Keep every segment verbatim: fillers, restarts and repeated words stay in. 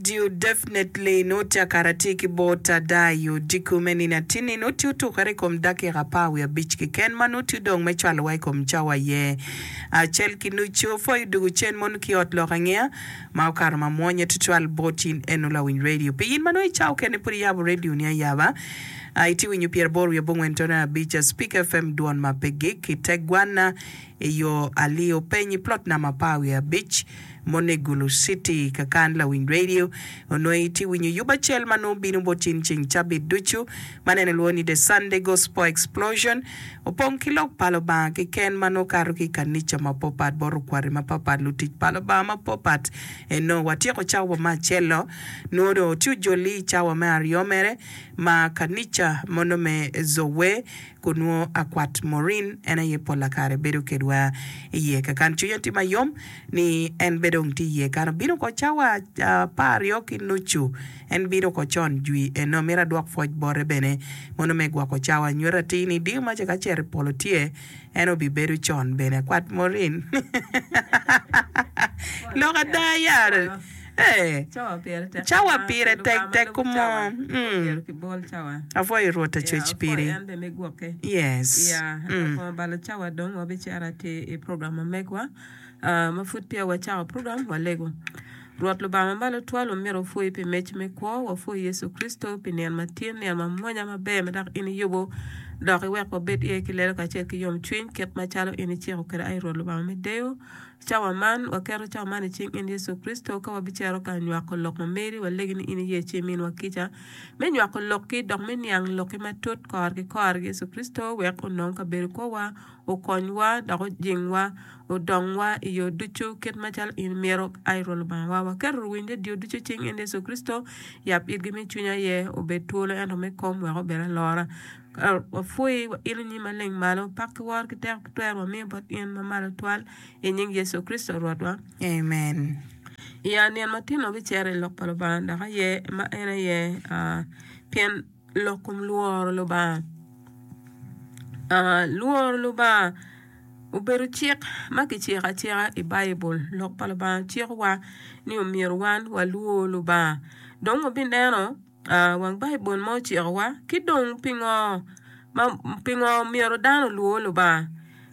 Radio definitely noti akara tye ki bot ada i odiko me nino atinni noti otukere i kom dakika apar wiye abic keken ma noti odong me cwalowa i kom cawa aye acel ki nucu pwoyo dugu cen mono ki ot lok angeya ma okato ma mwonye tutwal bot in eno lawiny radio pi in ma nongo i cawa okene pud iyabo radio ni ayaba itye winyo pyeraboro wiye abongwen tone abic Speak F M dwon ma pe gik i te gwana i yo alio peny i plot namba apar wiye abic mono i Gulu City kakan lawiny radio onongo itye winyo yub acel ma nongo bino bot in ceng cabit ducu ma nene lwongo ni The Sunday Gospel Explosion opong ki lok pa Lubanga keken ma nongo kato ki i kanica mapapat bot okwati mapapat lutic pa Lubanga mapapat eno watyeko cawa me acel-lo nongo dong tye ojoli i cawa me aryo mere ma kanica mono me Zowe kun nongo akwat Maureen en aye pola kare bedo kedwa iye kakan cwinya tye mayom ni en be dong tye iye kan obino ko cawa apar aryo ki nucu en bino ko con jwi eno mito adwok pwoc bote bene mono me gwoko cawa nyuto atir ni diyo maca ka cito i polo tye en obibedo con bene akwat Maureen lok ada ya Eh, Cawa pire tek cawa ata, pire pi tek Lubanga ma tek lubo kumo cawa, mm. myero kibol cawa. Apwoyo Rwot Ya, acwec apwoyo piri. en bene me gwokke. Yes. Ya, Mm. labongo balo cawa dong wabicito atir i program ma megwa. Ah, ma pud peya wacako program, walego. Rwot Lubanga ma malo twal, wamyero wapwoyi pi mec me kwo, wapwoyi Yecu Kricito pi nino matin, nino mamwonya maber ma dok in iyubo, dok iwek wabed iye ki lelo kacel ki yomcwiny, kit macalo in iciko kwede, ai Rwot Lubanga me deyo. Cawa man, waketo cawa man i cing in Yecu Kricito, ka wabicito ka nywako lok ma meri, walegi ni in iye ci iminwa kica me nywako lokki dok me niang lokki matut kore ki kore. Yecu Kricito wek onong kabedo kwowa, okonywa dok ojingwa, odongwa i yo ducu kit macalo in imito. Ai Rwot Lubangawa, waketo luwiny redio ducu i cing in Yecu Kricito, yab itgi me cwiny aye obed twolo ento me kom wek obed alora. Wapwoyi wailo nyim maleng malo, pak ki woro ki teko ki twero wamiyo bot in ma malo twal. I nying Yecu Kricito Rwotwa. Amen. I nino matino wabicito i lok pa Lubanga dok aye ma en aye ah, pien lok kom lworo Lubanga. Ah, lworo Lubanga obedo cik ma kiciko acika i Baibul. Lok pa Lubanga cikowa ni omyero wan walwor Lubanga. Dong wabineno ah, wang Baibul ma ocikowa ki dong pingo ma pingo myero dano olwor Lubanga.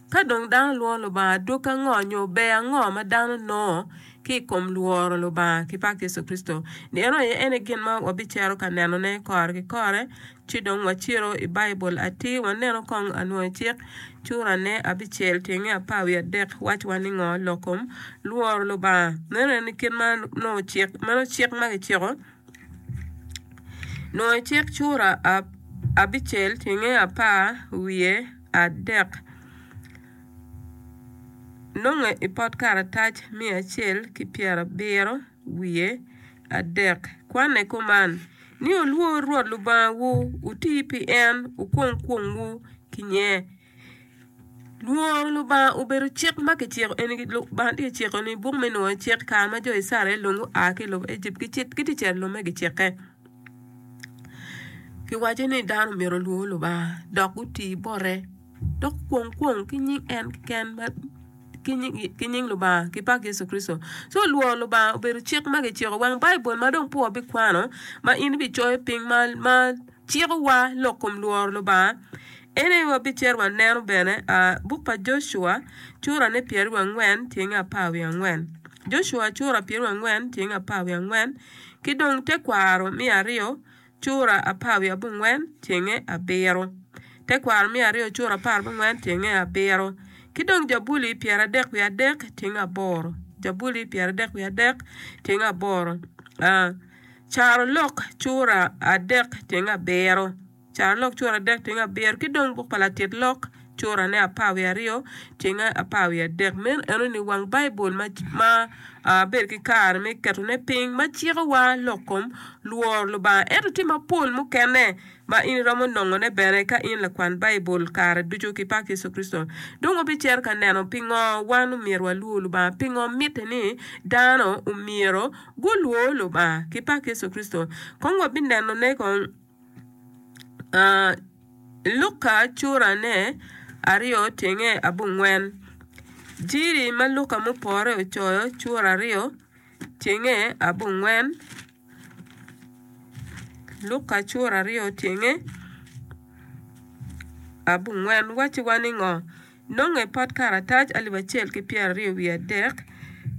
Ka dong dano lworo Lubanga, adwogi ango nyo ber ango ma dano nongo ki i kom lworo Lubanga ki pak Yecu Kricito? Eno aye en aye gin ma wabicito ka nenone kore ki kore. Ci dong wacito i Baibul atir waneno kong anwoyo cik curane abicel tyenge apar wiye adek wacwa ni ngo lok kom lworo Lubanga. Meno en ni kit ma nongo cik meno cik ma kiciko nwoyo cik cura abicel tyenge apar wiye adek nonge i pot karatac miya acel ki pyerabiro wiye adek. Kwanne kuman ni wulwor Rwot Lubangawu, wuti pi en, wukwong kwongwu ki nye. Lworo Lubanga obedo cik ma kiciko eni Lubanga tye ka ciko ni buk me nwoyo cik kare ma jo Icrael dong gua ki i lobo Ejipt gitye ka cito i lobo me gicikke. Kiwaco ni dano myero olwor Lubanga dok guti bote dok gukwong kwong ki nying en keken ki nying Lubanga ki pak Yecu Kricito. Co lworo Lubanga obedo cik ma kiciko wang Baibul ma dong pe wabikwano ma in ibicoyo piny ma cikowa lok kom lworo Lubanga. En aye wabicito waneno bene buk pa Jocua curane pyeraryo angwen tyenge apar wiye angwen. Jocua cura pyeraryo angwen tyenge apar wiye angwen ki dong tekwaro miya aryo cura apar wiye abongwen tyenge abiro. Tekwaro miya aryo cura apar abongwen tyenge abiro. Ki dong Jabuli pyeradek wiye adek tyenge aboro. Jabuli pyeradek wiye adek tyenge aboro. Carolok cura adek tyenge abiro. Carolok cura adek tyenge abiro. Ki dong buk pa latit lok curane apar wiye aryo tyenge apar wiye adek. Meno enoni wang Baibul ma ma bedo ki kare me ketone piny ma cikowa lok kom lworo Lubanga. Ento tye mapol mukene ma in iromo nongone bene ka in lakwan Baibul kare ducu ki pak Yecu Kricito. Dong wabicito ka neno pingo wan omyero walwor Lubanga, pingo mitte ni dano omyero gulwor Lubanga ki pak Yecu Kricito. Kong wabinenone kong uh, Luka curane aryo tyenge abongwen. Jiri ma Luka mupore ocoyo cura aryo tyenge abongwen. Luka cura aryo tyenge abongwen wacciwa ni ngo? Nonge pot karatac alip acel ki pyeraryo wiye adek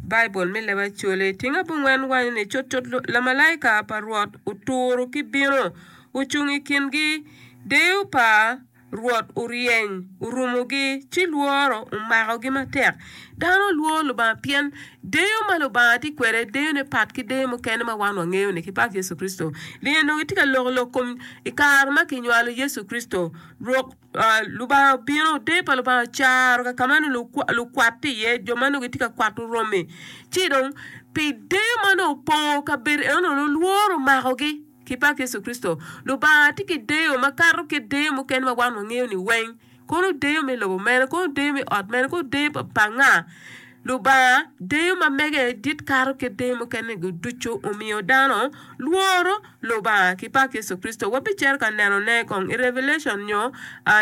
Baibul me leb Acholi. Tyeng abongwen waco ni cutcut lamalaika pa Rwot oturo ki bino, ocung i kingi, deyo pa Rwot oryeny orumogi, ci lworo omakogi matek. Dano lworo Lubanga pien deyo ma Lubanga tye kwede deyone pat ki deyo mukene ma wan wangeyo-ni ki pak Yecu Kricito. Linge onongo gitye ka loko lok kom i kare ma kinywalo Yecu Kricito. Rwok Lubanga obino, deyo pa Lubanga ocaro ka ka ma nongo lukwat tye iye, jo ma nongo gitye ka kwato romi. Ci dong pi deyo ma nongo opongo kabedo eno-nu, lworo omakogi. Ki pak Yecu Kricito, Lubanga tye ki deyo makato kit deyo mukene ma wan wangeyo ni weng. Kono deyo me lobo mene, kono deyo me ot mene, kono deyo pa nga? Lubanga deyo ma mege dit kato kit deyo mukene-gu ducu, omiyo dano lworo Lubanga. Ki pak Yecu Kricito, wabicito ka nenone kong i Revelation nyo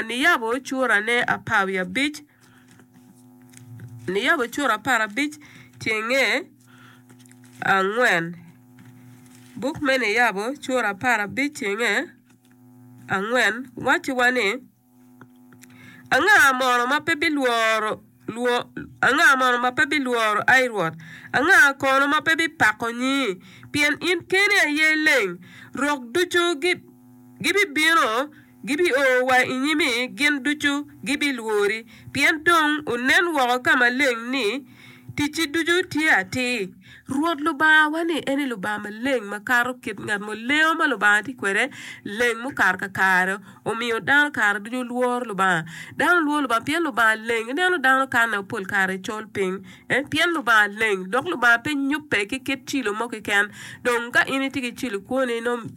Niyabo curane apar wiye abic, Niyabo cura apar abic tyenge angwen. Buk me Niyabo cura apar abic tyenge angwen wacciwa ni, Anga mono ma pe bilworo, anga mono ma pe bilworo, ai Rwot? Anga kono ma pe bipako nyingi? Pien in keni aye leng. Rok ducu gibibino, gibio wa i nyimi, gin ducu gibilwori, pien dong onen woko ka maleng ni ticci ducu tye atir. Rwot Lubangawa ni en aye Lubanga maleng makato kit ngat mo. Lengo ma Lubanga tye kwede leng mukato kakare, omiyo dano kare ducu lworo Lubanga. Dano lworo Lubanga pien Lubanga leng. Ineno dano kanne pol kare col piny pien Lubanga leng dok Lubanga pe nyubbe ki kit cilo mo keken. Dong ka in itye ki cilo i kwoni nongo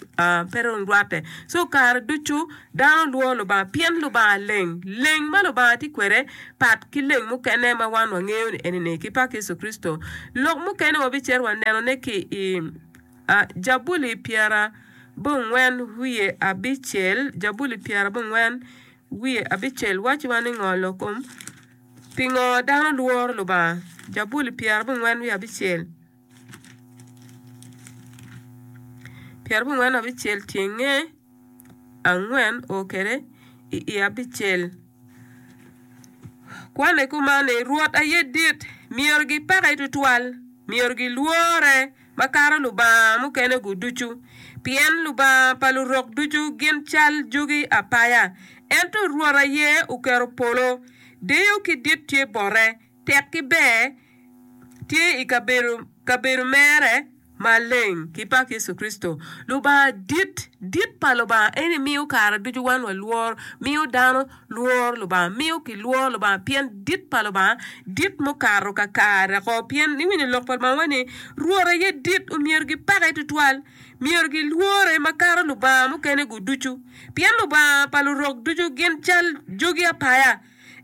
pe dong rwatte. Co kare ducu dano lworo Lubanga pien Lubanga leng. Leng ma Lubanga tye kwede pat ki leng mukene ma wan wangeyo ni eni-ni ki pak Yecu Kricito. Lok mukene wabicito wanenone ki i Jabuli pyerabongwen wiye abicel, Jabuli pyerabongwen wiye abicel wacciwa ni ngo lok kom pingo dano lworo Lubanga. Jabuli pyerabongwen wiye abicel. Pyerabongwen abicel tyenge angwen o kwede i i abicel. Kwane kuman ni, Rwot aye dit, myero gipake twatwal, myero gilwore makato lubanga mukene-gu ducu. Pien lubanga pa lurok ducu gin cal jogi apaya, ento Rwot aye oketo polo. Deyo ki dit tye bote, tek ki ber tye i kabedo mere maleng. Ki pak Yecu Kricito, Lubanga dit. Dit pa Lubanga eni miyo kare ducu wan walworo, miyo dano lworo Lubanga, miyo kilworo Lubanga pien dit pa Lubanga dit mukato kakare oko. Pien iwinyo lok pa Lubanga ni, Rwot aye dit, omyero gipake twatwal, myero gilwore makato lubanga mukene-gu ducu. Pien lubanga pa lurok ducu gin cal jogi apaya,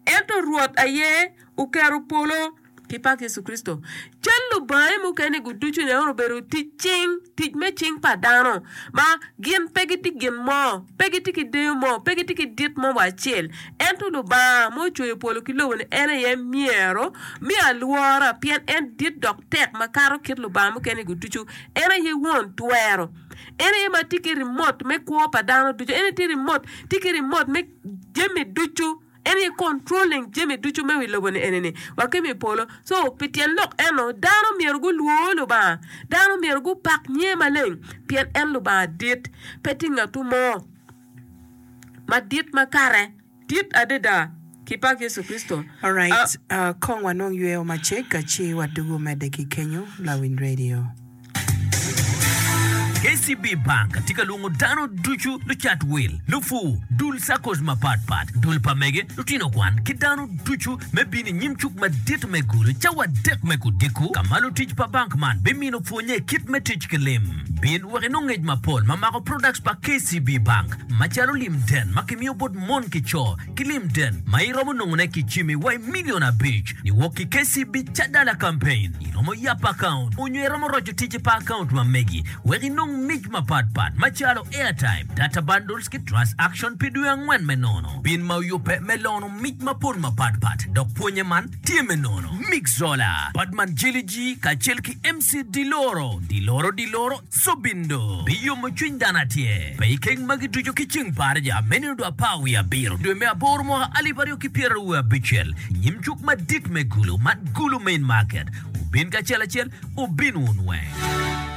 ento Rwot aye oketo polo. Ki pak Yecu Kricito. Cal lubange mukene-gu ducu nen obedo tic cing, tic me cing pa dano, ma gin pe gitye gin mo, pe gitye ki deyo mo, pe gitye ki dit mo wa acel. Ento Lubanga ma ocweyo polo ki lobo-ni en aye myero me alwora, pien en dit dok tek makato kit lubanga mukene-gu ducu. En aye won twero. En aye ma tye ki rimot me kwo pa dano ducu. En aye tye rimot, tye ki rimot me jami ducu. En aye controlling jami ducu me wi lobo ni eni-ni wa ki i polo. So, pi tyen lok eno, dano myero gulwor Lubanga. Dano myero gupak nyinge maleng, pien en Lubanga dit. Pe tye ngatu mo madit ma kare dit adada ki pak Yecu Kricito. Alright, uh, kong wanong yweyo macek ci wadugu medde ki kenyo lawiny radio. K C B Bank tye ka lwongo dano ducu, lucat wil, lupur, dul SACCOs mapatpat, dul pa mege, lutino kwan ki dano ducu me bino i nyim cuk madit me Gulu cawa adek me kudiko ka ma lutic pa bank man bimino pwonye i kit me tic ki lim. Bin wek inong ngec mapol ma mako products pa K C B Bank macalo lim den ma kimiyo bot mon ki co ki lim den ma iromo nongone ki cimi wa i milion abic niwok ki K C B Cadala Campaign. Iromo yabo akaunt onyo iromo roco ticci pa akaunt ma megi wek inong mic mapatpat macalo airtime, data bundles ki transaction pi dwe angwen me nono. Bin ma oyubbe me lono mic mapol mapatpat dok pwonye man tye me nono. Mixola, Badman Jelly G kacel ki MC Diloro, Diloro Diloro, Sobindo biyomo cwiny dano atyer. Pe ikeng magi ducu ki ceng pa Arja me nino dwe apar wiye abiro dwe me aboro mwaka alip aryo ki pyeraryo wiye abicel i nyim cuk madit me Gulu man Gulu Main Market. Wubin kacel acel, wubin wun weng.